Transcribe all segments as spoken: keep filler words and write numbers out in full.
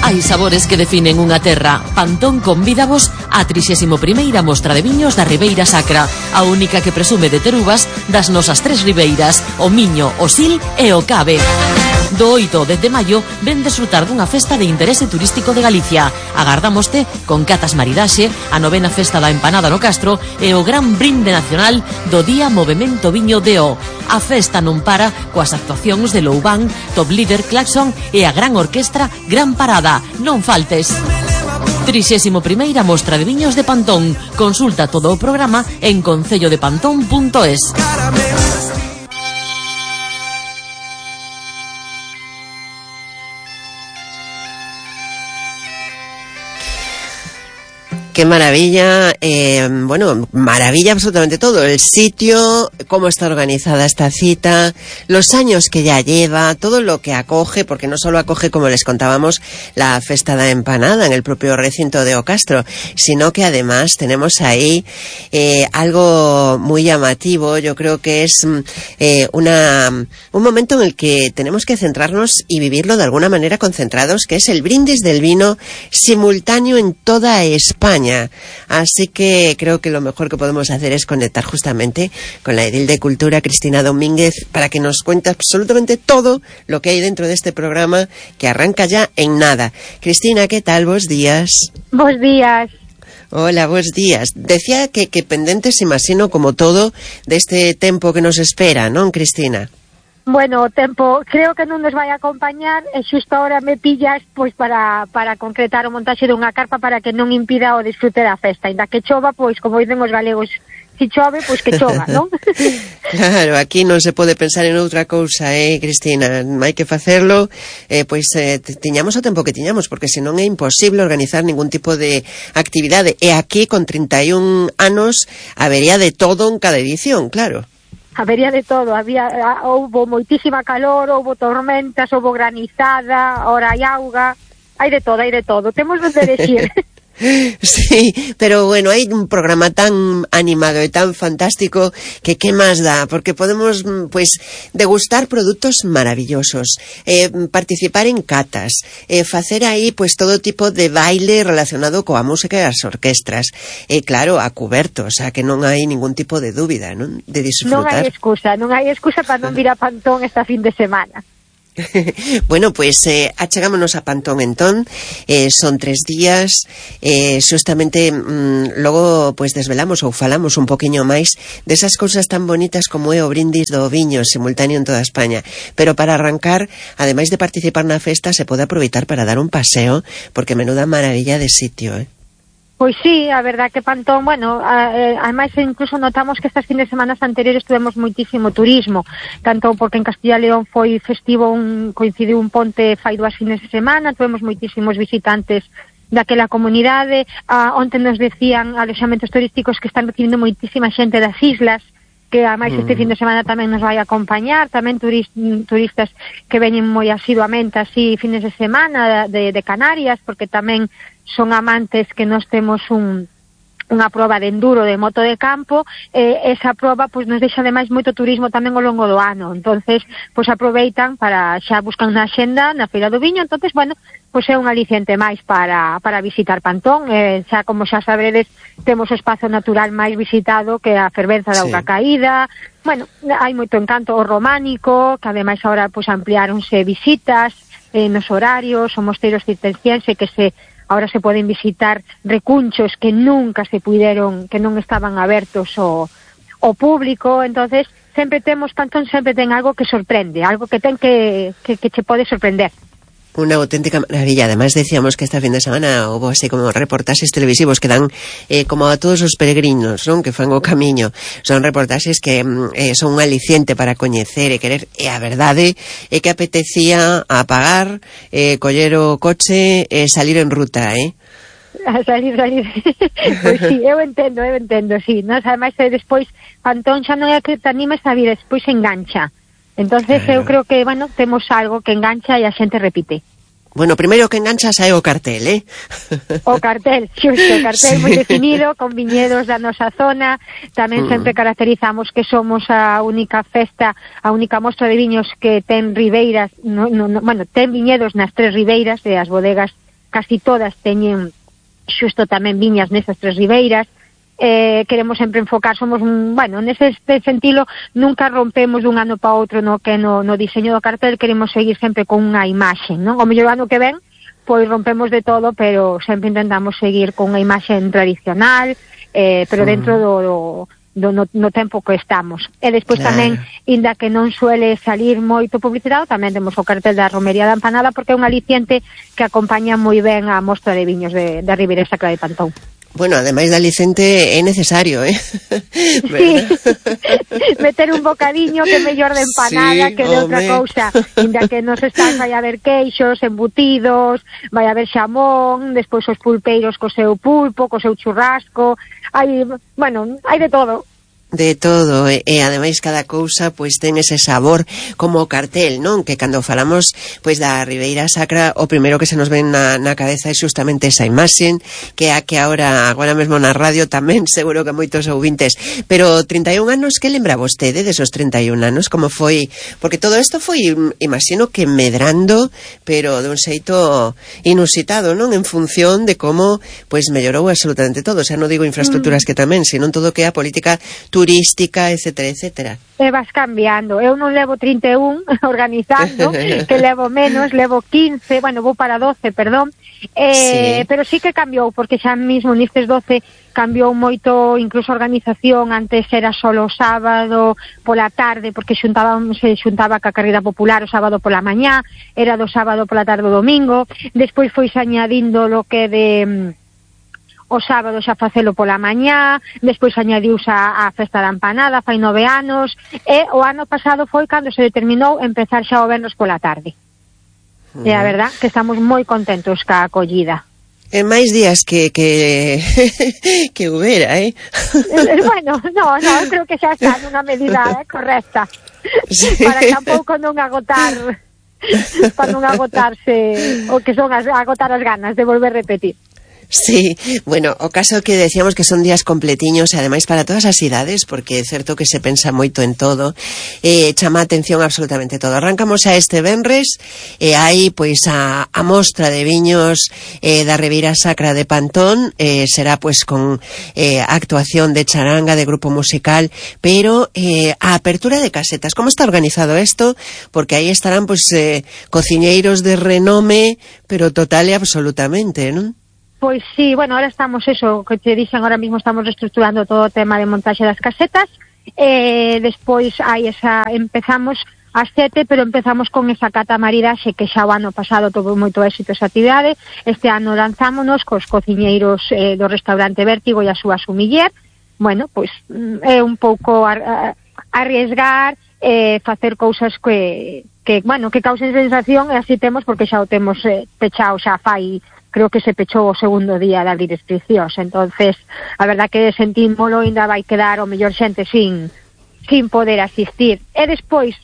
Hai sabores que definen unha terra. Pantón convídavos á trixésima primeira mostra de viños da Ribeira Sacra, a única que presume de ter uvas das nosas tres ribeiras, o Miño, o Sil e o Cabe. Do oito ao dez de maio ven desfrutar dunha festa de interese turístico de Galicia. Agardámoste con catas maridaxe, a novena festa da empanada no Castro e o gran brinde nacional do Día Movemento Viño de O. A festa non para coas actuacións de Loubán, Top Líder, Claxon e a gran orquestra Gran Parada. Non faltes. trixésima primeira mostra de viños de Pantón. Consulta todo o programa en concello de pantón punto es. Qué maravilla, eh, bueno, maravilla absolutamente todo, el sitio, cómo está organizada esta cita, los años que ya lleva, todo lo que acoge, porque no solo acoge, como les contábamos, la Festa da Empanada en el propio recinto de O Castro, sino que además tenemos ahí eh, algo muy llamativo. Yo creo que es eh, una un momento en el que tenemos que centrarnos y vivirlo de alguna manera concentrados, que es el brindis del vino simultáneo en toda España. Así que creo que lo mejor que podemos hacer es conectar justamente con la edil de Cultura, Cristina Domínguez, para que nos cuente absolutamente todo lo que hay dentro de este programa, que arranca ya en nada. Cristina, ¿qué tal? Bos días. Bos días. Hola, bos días. Decía que, que pendentes, imagino, como todo, deste tempo que nos espera, non, Cristina? Bueno, o tempo creo que non nos vai acompañar e xusto ahora me pillas pois para, para concretar o montaxe dunha carpa para que non impida o disfrute da festa. Ainda que chova, pois como dicen os galegos, si chove, pois que chova, non? Claro, aquí non se pode pensar en outra cousa, eh, Cristina. Hai que facerlo, eh, pois eh, tiñamos o tempo que tiñamos, porque senón é imposible organizar ningún tipo de actividade. E aquí, con trinta e un anos, habería de todo en cada edición, claro. Habería de todo, había houbo moitísima calor, houbo tormentas, houbo granizada, ahora hai auga, hai de todo, hai de todo, temos de elegir. Sí, pero bueno, hai un programa tan animado e tan fantástico que qué más da, porque podemos pues degustar produtos maravillosos, eh, participar en catas, eh, facer aí pues todo tipo de baile relacionado coa música e as orquestras, e eh, claro, a cuberto, o sea que non hai ningún tipo de dúbida, non? De disfrutar. Non hai excusa, non hai excusa para non vir a Pantón esta fin de semana. Bueno, pues eh, achegámonos a Pantón entón, eh, son tres días, eh, justamente mm, logo pues desvelamos ou falamos un poquinho máis desas cousas tan bonitas como é o brindis do viño simultáneo en toda España, pero para arrancar, ademais de participar na festa, se pode aproveitar para dar un paseo, porque menuda maravilla de sitio, eh. Pois sí, a verdad que Pantón, bueno, ademais incluso notamos que estas fines de semana anteriores tuvemos moitísimo turismo, tanto porque en Castilla e León foi festivo, un, coincidiu un ponte fai dúas fines de semana, tuvemos moitísimos visitantes daquela comunidade, ah, onte nos decían alojamentos turísticos que están recibindo moitísima xente das islas, que ademais este fin de semana tamén nos vai acompañar, tamén turist, turistas que veñen moi asiduamente así fines de semana de, de Canarias, porque tamén son amantes que nos temos un unha proba de enduro de moto de campo, eh, esa proba pois nos deixa ademais moito turismo tamén ao longo do ano, entonces pois aproveitan para xa buscan na axenda na Feira do Viño, entonces bueno, pois é un aliciente máis para, para visitar Pantón, eh, xa como xa sabedes temos o espazo natural máis visitado que a fervenza da auga sí. caída, bueno, hai moito encanto o románico, que ademais agora pois ampliáronse visitas eh, nos horarios, o mosteiro cisterciense que se ahora se poden visitar recunchos que nunca se puideron, que non estaban abertos ao, ao público, entonces sempre temos, Pantón sempre ten algo que sorprende, algo que ten que, que, que che pode sorprender. Una auténtica maravilla. Además decíamos que esta fin de semana hubo así como reportaxes televisivos que dan eh, como a todos os peregrinos, non? Que fan o camiño. Son reportaxes que eh, son un aliciente para coñecer e querer. E a verdade é que apetecía apagar, eh, coller o coche e eh, salir en ruta, eh? A salir, salir. Pois sí, eu entendo, eu entendo, sí. Nos, ademais, despois, Pantón xa non é que te animes a vir, despois engancha. Entonces claro. Eu creo que, bueno, temos algo que engancha e a xente repite. Bueno, primeiro que engancha sae o cartel, eh? O cartel, xusto, o cartel sí. moi definido, con viñedos da nosa zona. Tamén mm. sempre caracterizamos que somos a única festa, a única mostra de viños que ten ribeiras, no, no, no, bueno, ten viñedos nas tres ribeiras e as bodegas casi todas teñen xusto tamén viñas nesas tres ribeiras. Eh, queremos sempre enfocar, somos, bueno, nese sentido nunca rompemos dun ano para outro no que no, no diseño do cartel, queremos seguir sempre con unha imaxe, non? O mellor ano que ven, pois rompemos de todo, pero sempre intentamos seguir con unha imaxe tradicional, eh, pero dentro do, do, do no, no tempo que estamos. E despois tamén, inda que non suele salir moito publicitado, tamén temos o cartel da Romería da Empanada, porque é un aliciente que acompaña moi ben a mostra de viños de, da Ribeira Sacra de Pantón. Bueno, ademais de alicente é necesario, eh? Sí, meter un bocadiño que mellor de empanada sí, que de outra cousa. Inda que nos están, vai haber queixos, embutidos, vai haber xamón, despois os pulpeiros co seu pulpo, co seu churrasco, hai, bueno, hai de todo. De todo, e, e ademais cada cousa pois ten ese sabor como o cartel, non? Que cando falamos pois da Ribeira Sacra, o primeiro que se nos ven na, na cabeza é justamente esa imaxe, que a que agora agora mesmo na radio tamén seguro que moitos ouvintes. Pero trinta e un anos, que lembra vostede desos trinta e un anos? Como foi? Porque todo isto foi, imagino que medrando, pero de un xeito inusitado, non? En función de como pois mellorou absolutamente todo. O sea, non digo infraestructuras que tamén, sino todo que é a política turística turística, etcétera, etcétera. E vas cambiando. Eu non levo trinta e un organizando, que levo menos, levo quince, bueno, vou para doce, perdón, eh, sí. Pero sí que cambiou, porque xa mismo nestes doce cambiou moito, incluso a organización, antes era solo o sábado pola tarde, porque xuntábamos, se xuntaba ca carreira popular o sábado pola mañá, era do sábado pola tarde o domingo, despois foi añadindo lo que de o sábado xa facelo pola mañá, despois añadiuse a, a festa da empanada, fai nove anos, e o ano pasado foi cando se determinou empezar xa o venres pola tarde. Uh-huh. E a verdad que estamos moi contentos ca acollida. En máis días que que que hubiera, eh? Bueno, no, no, eu creo que xa está nunha medida eh, correcta. Sí. Para tampouco non agotar para non agotarse o que son as, agotar as ganas de volver a repetir. Sí, bueno, o caso que decíamos que son días completiños e ademais para todas as idades, porque é certo que se pensa moito en todo, eh, chama a atención absolutamente todo. Arrancamos a este venres e hai pois a, a mostra de viños eh, da Ribeira Sacra de Pantón, eh, será pois con eh, actuación de charanga, de grupo musical, pero eh, a apertura de casetas. Como está organizado isto? Porque aí estarán pois eh, cociñeiros de renome, pero total e absolutamente, non? Pois sí, bueno, ahora estamos eso, que te dixen, ahora mismo estamos reestructurando todo o tema de montaxe das casetas, e despois hai esa, empezamos ás sete, pero empezamos con esa cata maridaxe que xa o ano pasado tuvo moito éxito esa actividade. Este ano lanzámonos cos cociñeiros eh, do restaurante Vértigo e a súa sumiller. Bueno, pois é un pouco ar, arriesgar, eh, facer cousas que, que, bueno, que causen sensación, e así temos, porque xa o temos eh, pechado xa fai, creo que se pechou o segundo día de abrir inscripcións, entonces a verdad que sentímolo, ainda vai quedar o mellor xente sin sin poder asistir. E despois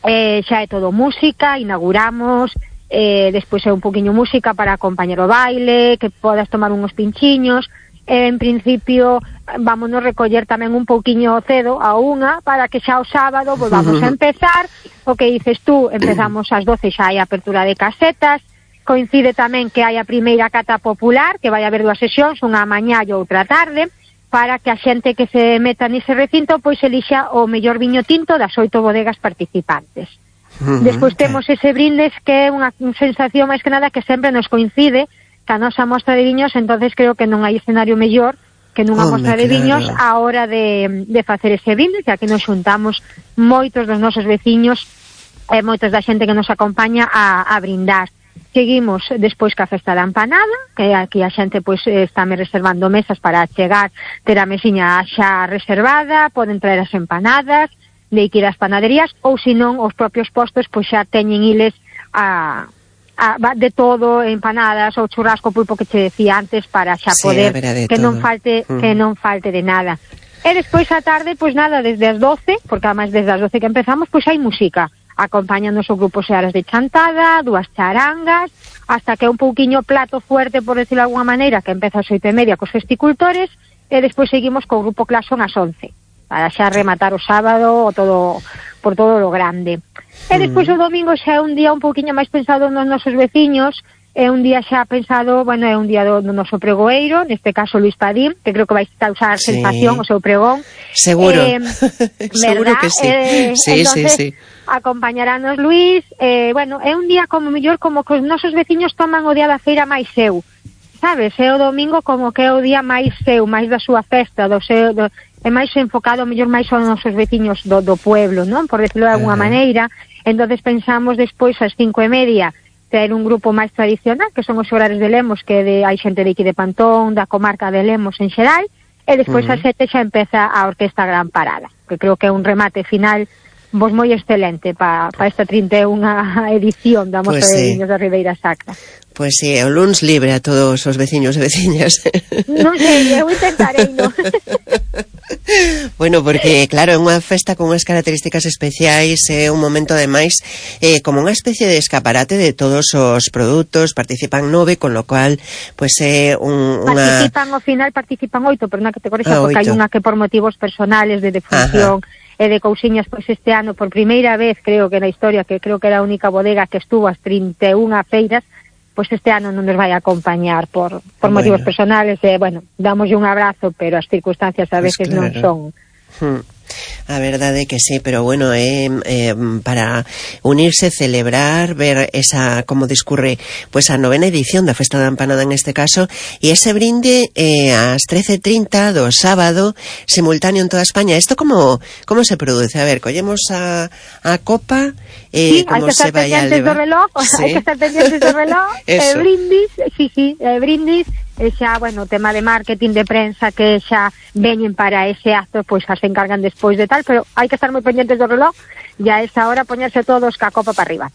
eh, xa é todo música, inauguramos, eh, despois é un poquinho música para acompañar o baile, que podas tomar uns pinchiños, eh, en principio vámonos recoller tamén un pouquiño cedo a unha, para que xa o sábado volvamos a empezar, o que dices tú, empezamos ás doce, xa hai apertura de casetas. Coincide tamén que hai a primeira cata popular, que vai haber dúas sesións, unha mañá e outra tarde, para que a xente que se meta nese recinto pois elixa o mellor viño tinto das oito bodegas participantes. Uh-huh. Despois temos ese brindes, que é unha sensación máis que nada que sempre nos coincide ca nosa mostra de viños, entonces creo que non hai escenario mellor que nunha oh, mostra de claro. viños a hora de, de facer ese brindes, que aquí nos xuntamos moitos dos nosos veciños e moitos da xente que nos acompaña a, a brindar. Seguimos despois ca festa da empanada, que aquí a xente pois está me reservando mesas para chegar, ter a mesiña xa reservada, poden traer as empanadas, de ir ás panaderías, ou senón os propios postos pois xa teñen iles a, a, de todo, empanadas ou churrasco, pulpo que che decía antes, para xa sí, poder de que todo. non falte mm. que non falte de nada. E despois a tarde, pois nada, desde as doce, porque además desde as doce que empezamos, pois hai música. Acompañanos o grupo Searas de Chantada, dúas charangas, hasta que un pouquiño plato fuerte, por decirlo de alguna maneira, que empeza ás oito e media cos festicultores, e despois seguimos co grupo Claxon ás once, para xa rematar o sábado o todo, por todo lo grande. E despois o domingo xa é un día un pouquiño máis pensado nos nosos veciños, é un día xa pensado, bueno, é un día do, do noso pregoeiro, neste caso Luís Padín, que creo que vai causar sí. sensación o seu pregón. Seguro, eh, seguro que sí. Eh, sí, entonces, sí, sí. acompañaranos Luís, eh, bueno, é un día como mellor como que os nosos veciños toman o día da feira máis seu, sabes? É o domingo como que é o día máis seu, máis da súa festa, do seu, do, é máis enfocado mellor máis aos nosos veciños do, do pueblo, non? Por decirlo de alguna uh-huh. maneira. Entonces pensamos despois ás cinco e media ter un grupo máis tradicional, que son os Xoglares de Lemos, que de, hai xente de aquí de Pantón, da comarca de Lemos en xeral, e despois uh-huh. ás sete xa empeza a Orquesta Gran Parada, que creo que é un remate final vos moi excelente para pa esta trinta e unha edición da Mostra pues de sí. Viños da Ribeira Sacra. Pois pues sí, é o luns libre a todos os veciños e veciñas. Non sei, eu intentarei, non? Bueno, porque claro, é unha festa con unhas características especiais, é un momento ademais eh, como unha especie de escaparate de todos os produtos, participan nove, con lo cual pues é un, unha... Participan ao final, participan oito, pero na categoría ah, porque hai oito. unha que por motivos personales de defunción e de cousiñas, pois este ano por primeira vez, creo que na historia, que creo que era a única bodega que estuvo as trinta e unha feiras, pois este ano non nos vai a acompañar por, por bueno. motivos personales, e, eh, bueno, damoslle un abrazo, pero as circunstancias a veces pues claro. non son... Hmm. A verdade que sí, pero bueno, é eh, eh, para unirse, celebrar, ver esa como discurre pues a novena edición da Festa da Empanada en este caso, e ese brinde eh, ás trece e trinta do sábado, simultáneo en toda España. Isto como como se produce? A ver, collemos a, a copa, eh, sí, como se vai a levar. Do reloj, sí. Hai que estar pendientes do reloj, eh, brindis, sí, sí, eh, brindis, e xa, bueno, o tema de marketing, de prensa, que xa veñen para ese acto, pois xa se encargan despois de tal, pero hai que estar moi pendientes do reloj e a esa hora poñerse todos ca copa para arriba.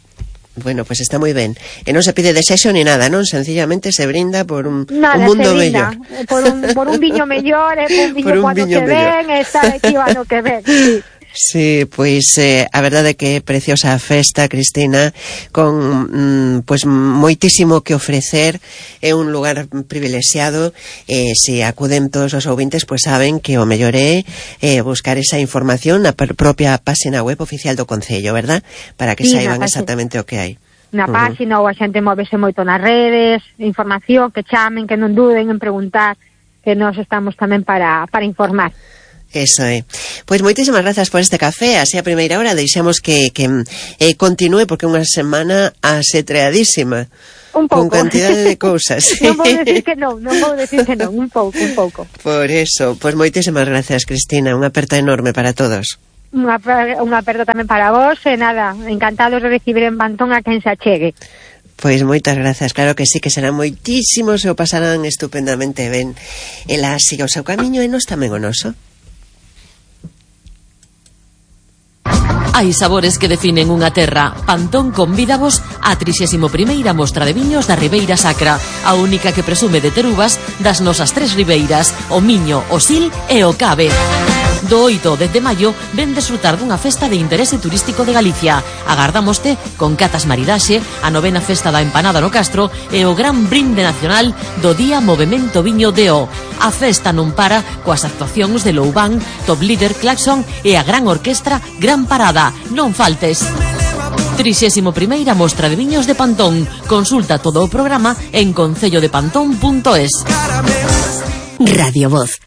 Bueno, pues está moi ben. E non se pide desexo ni nada, non? Sencillamente se brinda por un, nada, un mundo se brinda, mellor. Por un, por un viño mellor, eh, por un viño por un cuando viño que mellor. ven, estar aquí ano que ven, sí. Sí, pois eh, a verdade que é preciosa a festa, Cristina, con mm, pois moitísimo que ofrecer, é un lugar privilexiado, e eh, se acuden todos os ouvintes, pois saben que o mellor é eh, buscar esa información na propia página web oficial do Concello, verdad? Para que sí, saiban exactamente o que hai. Na uh-huh. página, ou a xente móvese moito nas redes, información, que chamen, que non duden en preguntar, que nós estamos tamén para, para informar. Eso é. Pois moitísimas grazas por este café, así a primeira hora deixamos que, que eh, continúe, porque unha semana asetreadísima. Un pouco. Con cantidade de cousas. Non vou decir que non, non vou decir que non, un pouco, un pouco. Por eso, pois moitísimas grazas, Cristina, unha aperta enorme para todos. Unha, unha aperta tamén para vos, e nada, encantados de recibir en Pantón a quen se achegue. Pois moitas grazas, claro que sí, que serán moitísimos e o pasarán estupendamente ben. Ela siga o seu camiño e nós tamén o noso. Hai sabores que definen unha terra. Pantón convídavos á trixésima primeira Mostra de Viños da Ribeira Sacra, a única que presume de ter uvas das nosas tres ribeiras, o Miño, o Sil e o Cabe. Do oito ao dez de maio ven desfrutar dunha festa de interese turístico de Galicia. Agardámoste con catas maridaxe, a novena festa da empanada no Castro e o gran brinde nacional do Día Movemento Viño de O. A festa non para coas actuacións de Loubán, Top Líder, Claxon e a gran orquestra Gran Parada. Non faltes. trixésima primeira Mostra de Viños de Pantón. Consulta todo o programa en concello de pantón punto es. Radio Voz.